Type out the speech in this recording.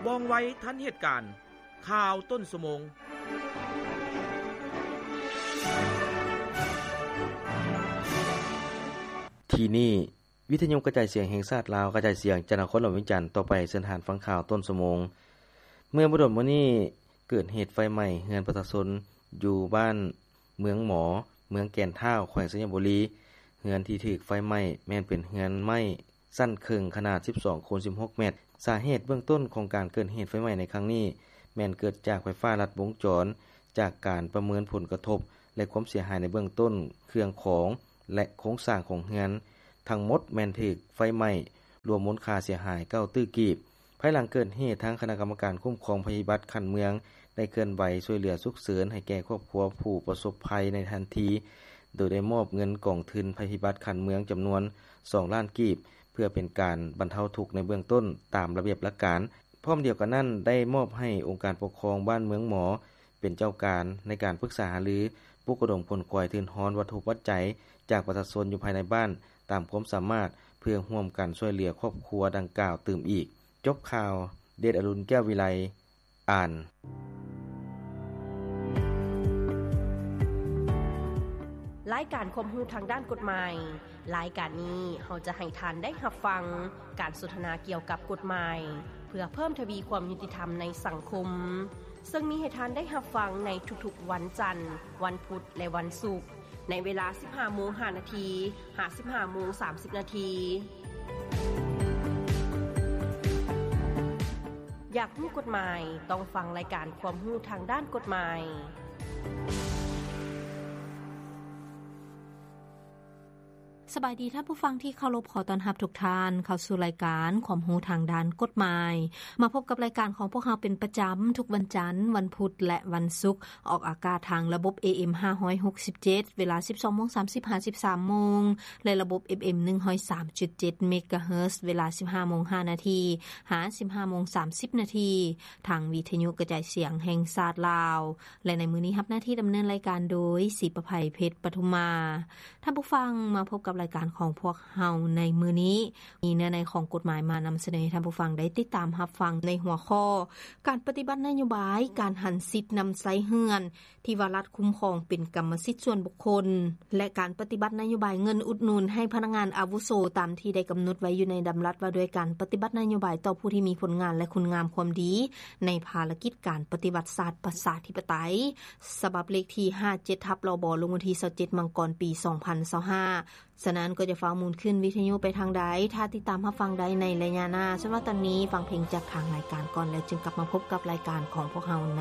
ວ່ອງໄວທັນເຫດການ. ຂ່າວຕົ້ນຊົ່ວໂມງ. ທີ່ນີ້ ວິທະຍຸກະຈາຍສຽງແຫ່ງຊາດລາວ ກະຈາຍສຽງຈາກນະຄອນຫຼວງວຽງຈັນ. ຕໍ່ໄປເຊີນທ່ານຟັງຂ່າວຕົ້ນຊົ່ວໂມງ. ເມື່ອບໍ່ດົນມານີ້ ເກີດເຫດໄຟໄໝ້ເຮືອນປະຊາຊົນຢູ່ບ້ານເມືອງໝໍ ເມືອງແກ່ນທ້າວ ແຂວງໄຊຍະບູລີ. ເຮືອນທີ່ຖືກໄຟໄໝ້ແມ່ນເປັນເຮືອນໄມ້ ຊັ້ນເຄິ່ງຂະໜາດສິບສອງຄູນສິບຫົກແມັດ. ສາເຫດເບື້ອງຕົ້ນຂອງການເກີດເຫດໄຟໄໝ້ໃນຄັ້ງນີ້ ແມ່ນເກີດຈາກໄຟຟ້າລັດວົງຈອນ. ຈາກການປະເມີນຜົນກະທົບ ແລະ ຄວາມເສຍຫາຍໃນເບື້ອງຕົ້ນ ເຄື່ອງຂອງ ແລະ ໂຄງສ້າງຂອງເຮືອນທັງໝົດແມ່ນຖືກໄຟໄໝ້ ລວມມູນຄ່າເສຍຫາຍເກົ້າຕື້ກີບ. ພາຍຫຼັງເກີດເຫດ, ທາງຄະນະກຳມະການຄຸ້ມຄອງໄພພິບັດຂັ້ນເມືອງ ໄດ້ເຄື່ອນໄຫວຊ່ວຍເຫຼືອສຸກເສີນໃຫ້ແກ່ຄອບຄົວຜູ້ປະສົບໄພໃນທັນທີ, ໂດຍໄດ້ມອບເງິນກອງທຶນໄພພິບັດຂັ້ນເມືອງຈຳນວນສອງລ້ານກີບ ເພື່ອເປັນການບັນເທົາທຸກໃນເບື້ອງຕົ້ນຕາມລະບຽບຫຼັກການ. ພ້ອມດຽວກັນນັ້ນ ໄດ້ມອບໃຫ້ອົງການປົກຄອງບ້ານເມືອງໝໍ ເປັນເຈົ້າການໃນການປຶກສາຫາລື, ປຸກລະດົມຂົນຂວາຍທຶນຮອນວັດຖຸປັດໄຈຈາກປະຊາຊົນຢູ່ພາຍໃນບ້ານຕາມຄວາມສາມາດ ເພື່ອຮ່ວມກັນຊ່ວຍເຫຼືອຄອບຄົວດັ່ງກ່າວຕື່ມອີກ. ຈົບຂ່າວ, ເດດອະລຸນ ແກ້ວວິໄລ ອ່ານ. ລາຍການຄວາມຮູ້ທາງດ້ານກົດໝາຍ. ລາຍການນີ້ເຮົາຈະໃຫ້ທ່ານໄດ້ຮັບຟັງການສົນທະນາກ່ຽວກັບກົດໝາຍ ເພື່ອເພີ່ມທະວີຄວາມຍຸຕິທຳໃນສັງຄົມ, ເຊິ່ງມີໃຫ້ທ່ານໄດ້ຮັບຟັງໃນທຸກໆວັນຈັນ, ວັນພຸດ ແລະ ວັນສຸກ ໃນເວລາສິບຫ້າໂມງຫ້ານາທີ ຫາ ສິບຫ້າໂມງສາມສິບນາທີ. ຢາກຮູ້ກົດໝາຍ? ຕ້ອງຟັງລາຍການຄວາມຮູ້ທາງດ້ານກົດໝາຍ. ສະບາຍດີທ່ານຜູ້ຟັງທີ່ເຄົາລົບ, ຂໍຕ້ອນຮັບທຸກທ່ານເຂົ້າສູ່ລາຍການຄວາມຮູ້ທາງດ້ານກົດໝາຍ. ມາພົບກັບລາຍການຂອງພວກເຮົາເປັນປະຈຳທຸກວັນຈັນ, ວັນພຸດ ແລະ ວັນສຸກ, ອອກອາກາດທາງລະບົບ ເອເອັມ ຫ້າຮ້ອຍຫົກສິບເຈັດ ເວລາສິບສອງໂມງສາມສິບ ຫາ ສິບສາມໂມງ ແລະ ລະບົບ ເອັຟເອັມ ໜຶ່ງຮ້ອຍສາມຈຸດເຈັດ ເມກາເຮີດ ເວລາສິບຫ້າໂມງຫ້ານາທີ ຫາ ສິບຫ້າໂມງສາມສິບນາທີ ທາງວິທະຍຸກະຈາຍສຽງແຫ່ງຊາດລາວ. ແລະ ໃນມື້ນີ້ຮັບໜ້າທີ່ດຳເນີນລາຍການໂດຍ ສີປະໄພ ເພັດປະທຸມມາ. ທ່ານຜູ້ຟັງ, ມາພົບກັບລາຍການຂອງພວກເຮົາໃນມື້ນີ້ ມີເນື້ອໃນຂອງກົດໝາຍມານຳສະເໜີໃຫ້ທ່ານຜູ້ຟັງໄດ້ຕິດຕາມຮັບຟັງໃນຫົວຂໍ້ ການປະຕິບັດນະໂຍບາຍການຫັນສິດນຳໃຊ້ເຮືອນ ທີ່ວ່າລັດຄຸ້ມຄອງເປັນກຳມະສິດສ່ວນບຸກຄົນ ແລະ ການປະຕິບັດນະໂຍບາຍເງິນອຸດໜູນໃຫ້ພະນັກງານອາວຸໂສ ຕາມທີ່ໄດ້ກຳນົດໄວ້ຢູ່ໃນດຳລັດວ່າດ້ວຍການປະຕິບັດນະໂຍບາຍຕໍ່ຜູ້ທີ່ມີຜົນງານ ແລະ ຄຸນງາມຄວາມດີ ໃນພາລະກິດການປະຕິວັດຊາດປະຊາທິປະໄຕ ສະບັບເລກທີຫ້າເຈັດທັບ ລບ ລົງວັນທີຊາວເຈັດ ມັງກອນ ປີສອງພັນຊາວຫ້າ. ສະນັ້ນກໍຈະຟ້າວໝູນຂຶ້ນວິທະຍຸໄປທາງໃດ, ຖ້າຕິດຕາມຮັບຟັງໄດ້ໃນໄລຍະໜ້າ. ສ່ວນວ່າຕອນນີ້ຟັງເພງຈາກທາງລາຍການກ່ອນ ແລ້ວຈຶ່ງກັບມາພົບກັບລາຍການຂອງພວກເຮົາໃນ